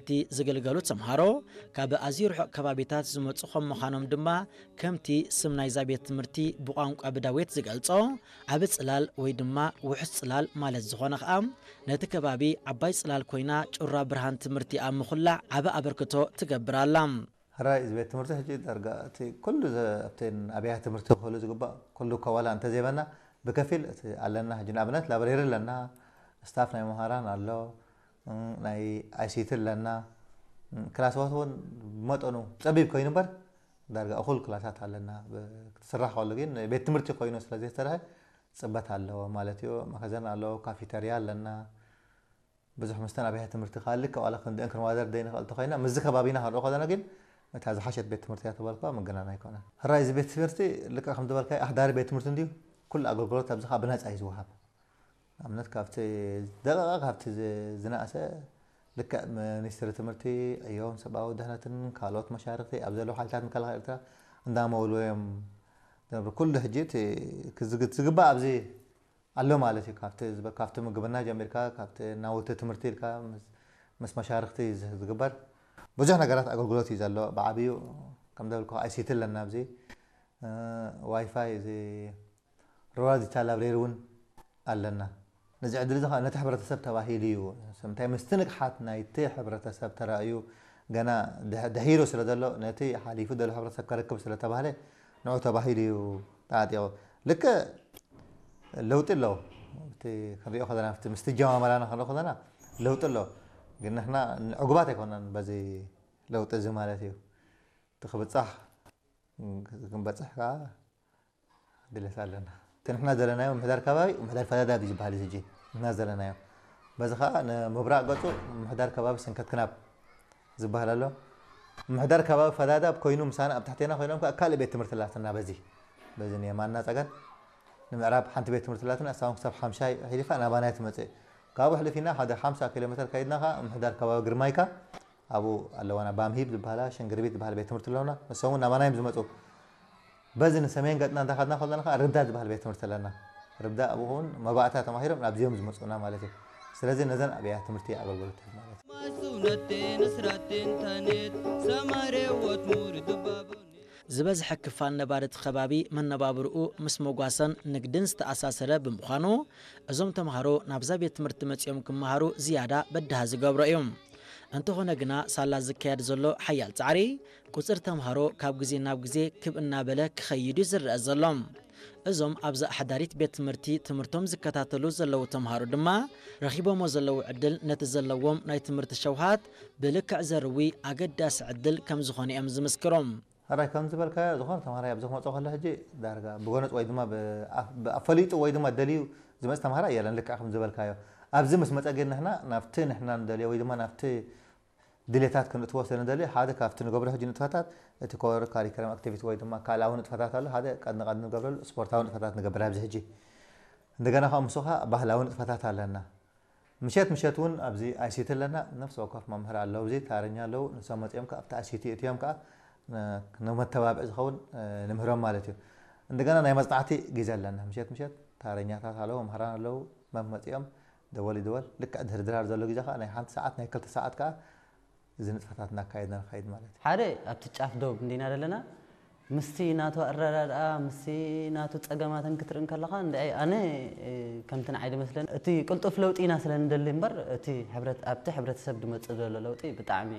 እቲ ዝግልገሉ ተምሃሮ ካብ ኣዝዩ ርሑቕ ከባቢታት ዝመጹ ከም ምዃኖም ድማ፣ ከምቲ ስም ናይዛ ቤት ትምህርቲ ብቋንቋ ብዳዌት ዝገልጾ፣ ዓቢ ጽላል ወይ ድማ ውሑስ ጽላል ማለት ዝኾነ ኸኣ፣ ነቲ ከባቢ ዓባይ ጽላል ኮይና ጩራ ብርሃን ትምህርቲ ኣብ ምኹላዕ ዓቢ ኣበርክቶ ትገብር ኣላ። ሕራይ እዚ ቤት ትምህርቲ ሕጂ ዳርጋ እቲ ኩሉ ዘ-፣ ኣብተን ኣብያተ ትምህርቲ ክህሉ ዝግባእ ኩሉ ከዋላ እንተዘይበና ብከፊል እቲ ኣለና። ሕጂ ንኣብነት ላብሬሪ ኣለና፣ ስታፍ ናይ መምሃራን ኣሎ፣ እም፣ ናይ ኣይሲቲ ኣለና። እም፣ ክላስዋት እውን ብመጠኑ ጸቢብ ኮይኑ እምበር ዳርጋ እኹል ክላሳት ኣለና። ብ-፣ ክትስራሕ ከሎ ግን ቤት ትምህርቲ ኮይኑ ስለ ዘይተሰርሐ ጽበት ኣለዎ ማለት እዩ። መኸዘን ኣለዎ፣ ካፊተርያ ኣለና። ብዙሕ ምስተን ኣብያተ ትምህርቲ ካልእ ዋላ ክንድእን ክንዋደር ዘይንኽእል እንተኾይና፣ ምስዚ ከባቢና ክንርኢ ከለና ግን እታ ዝሓሸት ቤት ትምህርቲ እያ ተባልካ ምግናን ኣይኮነን። ሕራይ እዚ ቤት ትምህርቲ ልክዕ ከም ዝበልካዮ ኣሕዳሪ ቤት ትምህርቲ እንድዩ፣ ኩሉ ኣገልግሎት ኣብዚ ኸዓ ብነጻ እዩ ዝወሃብ። ንኣብነት ካብቲ ደቂቓ ካብቲ ዝ-፣ ዝነኣሰ ልክዕ ሚኒስትሪ ትምህርቲ፣ ዕዮን ሰብኣዊ ድሕነትን ካልኦት መሻርኽቲ ኣብ ዘለዉ ሓይልታት ምክልኻል ኤርትራ እንዳመውልዎ እዮም ዝነብሩ። ኩሉ ሕጂ እቲ ክዝግ-፣ ዝግባእ ኣብዚ ኣሎ ማለት እዩ። ካብቲ ዝበ-፣ ካብቲ ምግብና ጀሚርካ፣ ካብቲ ናውቲ ትምህርቲ ኢልካ ምስ፣ ምስ መሻርኽቲ ዝ-፣ ዝግበር ብዙሕ ነገራት ኣገልግሎት እዩ ዘሎ። ብዓብዩ ከም ዘበልኩ ኣይሲቲ ኣለና ኣብዚ፣ እ፣ ዋይፋይ፣ እዚ ሩራል ዲጂታል ላብሬሪ እውን ኣለና። ነዚ ዕድል እዚ ኸዓ ነቲ ሕብረተሰብ ተባሂሉ እዩ። እንታይ ምስቲ ንቕሓት ናይቲ ሕብረተሰብ ተራእዩ ገና ድሕ-፣ ድሒሩ ስለ ዘሎ ነቲ ሓሊፉ ዘሎ ሕብረተሰብ ከረክብ ስለ ተባህለ ንዑ ተባሂሉ እዩ ተዓጢቑ። ልክዕ ለውጢ ኣለዎ። እቲ ክንሪኦ ከለና፣ ኣብቲ ምስቲ ጀማመራና ክንሪኦ ከለና ለውጢ ኣለዎ። ግን ንሕና ዕጉባት ኣይኮናን በዚ ለውጢ እዚ ማለት እዩ። እቲ ክብጻሕ ክንበጽሕ ከኣ ድሌት ኣለና። እቲ ንሕና ዘለናዮ ምሕዳር ከባቢ፣ ምሕዳር ፈዳዳብ እዩ ዝበሃል እዩ ሕጂ። ንሕና ዘለናዮ። በዚ ከኣ ንምብራቕ ገጹ ምሕዳር ከባቢ ሰንከት ክናብ ዝበሃል ኣሎ። ምሕዳር ከባቢ ፈዳዳብ ኮይኑ ምሳና ኣብ ታሕቴና ኮይኖም ከኣ ካልእ ቤት ትምህርቲ ኣላትና በዚ። በዚ ንየማንና ጸጋም ንምዕራብ ሓንቲ ቤት ትምህርቲ ኣላትና፣ እሳ እውን ክሳብ ሓምሻይ ኣሕሊፋ ናባና እያ ትመጽእ። ካብኡ ኣሕሊፍና ሓደ ሓምሳ ኪሎ ሜተር ከይድና ከኣ ምሕዳር ከባቢ ግርማይካ ኣብኡ ኣለዋና። ባምሂብ ዝበሃላ፣ ሸንግርቢት ዝበሃል ቤት ትምህርቲ ኣለውና። ንሶም እውን ናባና እዮም ዝመጹ። በዚ ንሰሜን ገጽና እንዳኸድና ከለና ከኣ ርብዳ ዝበሃል ቤት ትምህርቲ ኣለና። ርብዳ ኣብኡ እውን መባእታ ተማሂሮም ናብዚኦም ዝመጹና ማለት እዩ። ስለዚ ነዘን ኣብያተ ትምህርቲ ኣገልግሎት ማለት እዩ። ዝበዝሐ ክፋል ነባሪ እቲ ከባቢ መነባብርኡ ምስ መጓሰን ንግድን ዝተኣሳሰረ ብምዃኑ፣ እዞም ተምሃሮ ናብዛ ቤት ትምህርቲ መጺኦም ክመሃሩ ዝያዳ በዳሂ ዝገብሮ እዩ። እንተኾነ ግና፣ ሳላ ዝካየድ ዘሎ ሓያል ጻዕሪ፣ ቁጽሪ ተምሃሮ ካብ ግዜ ናብ ግዜ ክብ እናበለ ክኸይድ እዩ ዝረአ ዘሎ። እዞም ኣብዛ ኣሕዳሪት ቤት ትምህርቲ ትምህርቶም ዝከታተሉ ዘለዉ ተምሃሮ ድማ፣ ረኺቦሞ ዘለዉ ዕድል ነቲ ዘለዎም ናይ ትምህርቲ ሸውሃት ብልክዕ ዘርዊ ኣገዳሲ ዕድል ከም ዝኾነ እዮም ዝምስክሩ። ሕራይ ከም ዝበልካዮ፣ ዝኾነ ተምሃራይ ኣብዚ ክመጾ ከሎ ሕጂ ዳርጋ ብጎነጽ ወይ ድማ ብኣፍ-፣ ብኣፈሊጡ ወይ ድማ ደልዩ ዝመጽእ ተምሃራይ የለን። ልክዕ ከም ዝበልካዮ፣ ኣብዚ ምስ መጸ ግን ንሕና ናብቲ ንሕና ንደልዮ ወይ ድማ ናብቲ ድሌታት ክንእትዎ ስለ ንደሊ፣ ሓደ ካብቲ ንገብሮ ሕጂ ንጥፈታት እቲ ኮር ካሪክለም ኣክቲቪቲ ወይ ድማ ካልኣዊ ንጥፈታት ኣሎ። ሓደ ቀድ ንቐድ ንገብረሉ ስፖርታዊ ንጥፈታት ንገብር ኣብዚ ሕጂ። እንደገና ከኣ ምስኡ ከኣ ባህላዊ ንጥፈታት ኣለና። ምሸት ምሸት እውን ኣብዚ ኣይሲቲ ኣለና። ነፍሲ ወከፍ መምህር ኣለዉ፣ ኣብዚ ታረኛ ኣለዉ። ንሶም መጺኦም ከኣ ኣብቲ ኣይሲቲ እትዮም ከኣ ን-፣ ንመተባብዒ ዝኸውን፣ እ፣ ንምህሮም ማለት እዩ። እንደገና ናይ መጽናዕቲ ግዜ ኣለና። ምሸት ምሸት ታረኛታት ኣለዉ፣ መምህራን ኣለዉ። መም መጺኦም ደወል ይድወል። ልክዕ ድሕሪ ድራር ዘሎ ግዜ ከኣ ናይ ሓንቲ ሰዓት፣ ናይ ክልተ ሰዓት ከኣ እዚ ንጥፈታት እናካየድና ንኸይድ ማለት እዩ። ሓደ ኣብቲ ጫፍ ዶብ እንዲና ዘለና፣ ምስቲ ናቱ ኣረዳድኣ፣ ምስቲ ናቱ ጸገማትን ክትርኢ እንከለኻ፣ እንድዒ ኣነ፣ እ፣ ከምቲ ንዓይ ዝመስለኒ፣ እቲ ቅልጡፍ ለውጢ ኢና ስለ ንደሊ እምበር፣ እቲ ሕብረት-፣ ኣብቲ ሕብረተሰብ ዝመጽእ ዘሎ ለውጢ ብጣዕሚ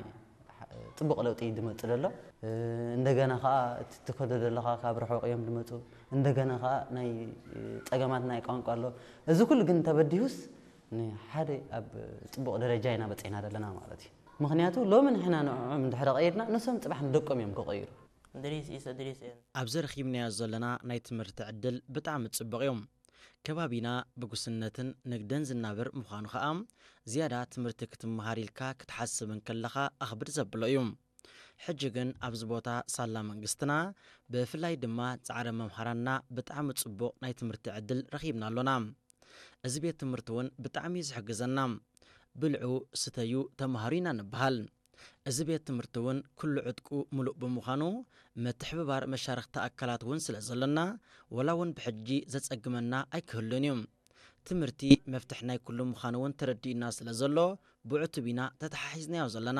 ጽቡቕ ለውጢ እዩ ዝመጽእ ዘሎ። እ፣ እንደገና ኸኣ እቲ ትኸዶ ዘለኻ ካብ ርሑቕ እዮም ዝመጹ። እንደገና ኸኣ ናይ፣ እ፣ ጸገማት ናይ ቋንቋ ኣሎ። እዚ ኩሉ ግን ተበዲሁስ ንሓደ ኣብ ጽቡቕ ደረጃ ኢና በጺሕና ዘለና ማለት እዩ። ምኽንያቱ ሎሚ ንሕና ንዕዖም እንድሕሪ ቀይርና፣ ንሶም ጽባሕ ንደቆም እዮም ክቕይሩ። Idris is Idris and ኣብዚ ረኺብናዮ ዘለና ናይ ትምህርቲ ዕድል ብጣዕሚ ጽቡቕ እዩ። ከባቢና ብጉስነትን ንግድን ዝናበር ምዃኑ ኸኣ፣ ዝያዳ ትምህርቲ ክትመሃር ኢልካ ክትሓስብ እንከለኻ ኣኽብድ ዘብሎ እዩ። ሕጂ ግን ኣብዚ ቦታ ሳላ መንግስትና፣ ብፍላይ ድማ ጻዕሪ መምሃራንና ብጣዕሚ ጽቡቕ ናይ ትምህርቲ ዕድል ረኺብና ኣሎና። እዚ ቤት ትምህርቲ እውን ብጣዕሚ እዩ ዝሕግዘና። ብልዑ፣ ስተዩ፣ ተምሃሩ ኢና ንበሃል። እዚ ቤት ትምህርቲ እውን ኩሉ ዕጥቁ ምሉእ ብምዃኑ፣ ምትሕብባር መሻርኽቲ ኣካላት እውን ስለ ዘሎና፣ ወላ እውን ብሕጂ ዘጸግመና ኣይክህሉን እዩ። ትምህርቲ መፍትሕ ናይ ኩሉ ምዃኑ እውን ተረዲኡና ስለ ዘሎ፣ ብዕቱብ ኢና ተተሓሒዝናዮ ዘለና።